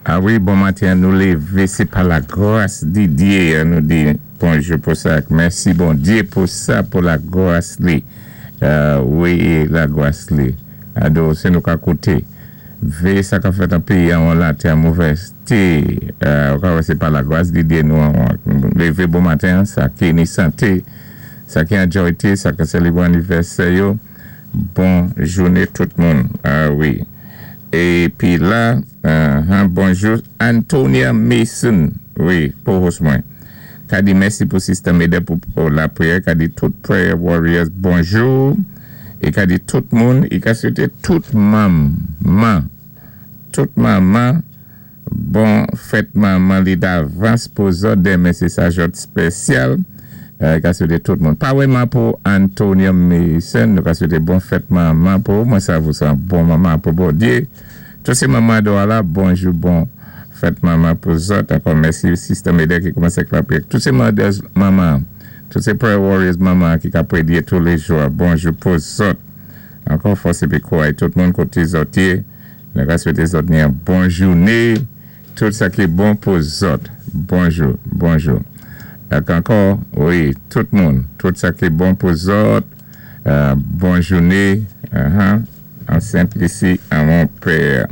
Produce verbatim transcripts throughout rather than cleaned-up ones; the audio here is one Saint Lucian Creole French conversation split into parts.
A wi, bon maten, nou lévé, sé pa la gwas di Diyé, nou di bonjou pou sa. Mèsi Bondyé pou sa, pou la gwas li. Euh, wi, la gwas li. Ado, sé nou ka kouté. Vé sa ka fèt an péyi an la, té an movèzté. Euh, sé pa la gwas di Diyé nou an lévé bon maten, sa ki ni santé, sa ki an djoyté, sa ki sélébwé anivèsè yo. Bon jouné tout moun. A wi. Épi la, uh, bonjou, Antonia Mason, wi, pou mwen. Ka di mèsi pou Sister Meda pou, pou la priyè, ka di tout prayer warriors, bonjou. É ka di tout moun, é ka swété tout manman, tout manman, bon fèt manman li davans pou zòt, denmen sé sa jòt spésyal. Euh, ka swété tout moun. Pa wèman pou Antonia Mason, nou ka swété bon fèt manman pou, mwen sa vou sa bon manman pou Bondyé. Tout sé manman do la, bonjou, bon fèt manman pou zòt. Ankò mèsi Sister Meda ki koumansé la priyè. Tout sé manman, tout sé prayer warriors manman ki ka prédiyé tou lé jou. Bonjou pou zòt. Ankò fòs épi kouway tout moun koté zòt yé. Nou ka swété zòt ni yon bon jouné. Tout sa ki bon pou zòt. Bonjou, bonjou. Ankò, wi, tout moun, tout sa ki bon pou zòt, euh, bon jouné, uh -huh, an Sent-Lisi, an mon priyè,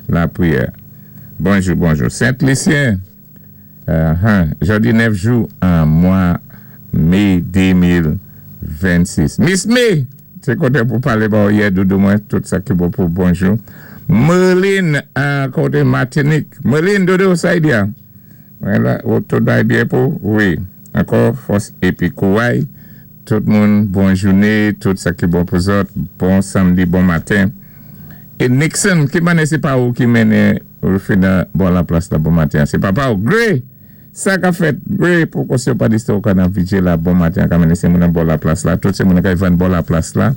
la priyè. Bonjou, bonjou. Sent-Lisyen, uh -huh, jòdi nèf jou an mwa mé de mil vennsis. Miss May, sé koté pou palé ba yè doudou mwen, tout sa ki bon pou bonjou. Merlin, an koté Matinik. Merlin, doudou, sa y di? Wala, ou tout bay byen pou? Wi. Ankò, fòs épi kouway. Tout moun, bon jouné, tout sa ki bon pou zòt. Bon samdi, bon maten. É Nixon, ki manè sé pa ou ki mennen Rufina bon la plas la bon maten. Sé papa ou, Gray! Sa ka fèt, Gray, pou konsè pa distò ou ka nan vijé la bon maten, ka mennen sé moun nan bon la plas la. Tout sé moun ka yon bon la plas la.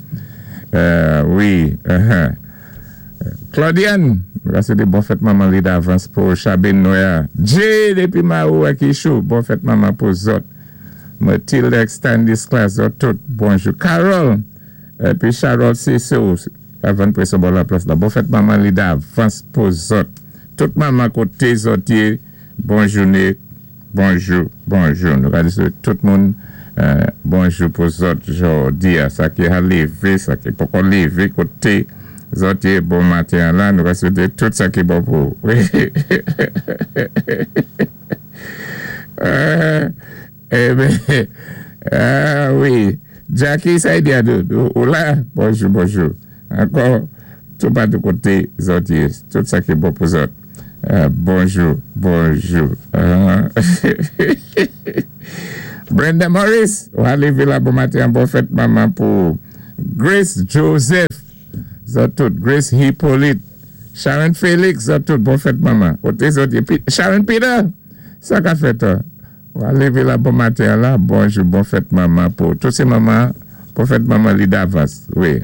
Euh, wi, uh-huh. Claudiane, sa sé bon fèt manman li davans pou Chabine Noya. Jay, dépi Maou ak Ichou, bon fèt manman pou zòt. Mathilde Stanislas, zòt tout, bonjou. Carol, épi Charles Cissou, avan pwéson bon la plas la. Bon fèt manman li davans pou zòt. Tout manman koté zòt yé, bon jouné, bonjou, bonjou. Nou ka di tout moun, euh, bonjou pou zòt jòdi a, sa ki a lévé, sa ki poko lévé koté zòt yé bon maten la, nou va swété tout sa ki bon pou. Wi. euh, eh ben, ah wi. Jackie, sa y di doudou, ou la? Bonjou, bonjou. Ankò, tout pa tout koté zòt yé, tout sa ki bon pou zòt. Euh, bonjou, bonjou. Uh, Brenda Morris, ou lévé la bon maten, bon fèt manman pou Grace Joseph. Zòt tout, Grace Hippolyte, Sharon Félix, zòt tout, bon fèt manman. Koté zòt, Sharon Peter, sa ka fèt, ou lévé la bon maten la, bonjou, bon fèt manman pou tout sé manman, bon fèt manman li davans, wi.